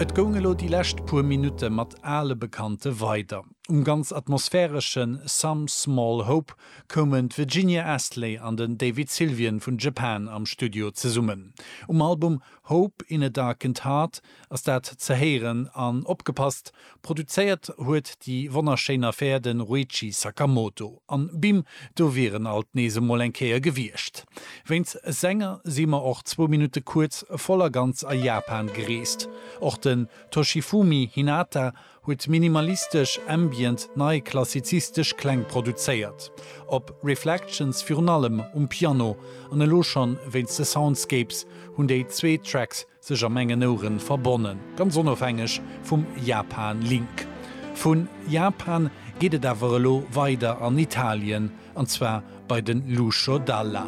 Et goung elo déi lescht puer Minutte mat ale Bekannte weider. Um ganz atmosphäresche Some Small Hope koumen d'Virginia Astley an den David Sylvian vun Japan am Studio zesummen. Um Album Hope in a Darkened Heart ass dat ze héieren an opgepasst, produzéiert huet déi wonnerschéin Affär de Ruichi Sakamoto. An bim, do wier en alt nees emol eng Kéier gewiescht. Wéinst Sänger si mer och zwou Minutte kuerz voll a ganz a Japan gereest. Och den Toshifumi Hinata huet minimalistesch, ambient, nei-klassizistesch Kläng produzéiert. Op Reflections virun allem um Piano an elo schonn wéinst de Soundscapes hunn déi zwee Tracks sech a mengen Oueren verbonnen, ganz onofhängeg vum Japan-Link. Vun Japan geet et awer elo weider an Italien, an zwar bei den Lucio Dalla.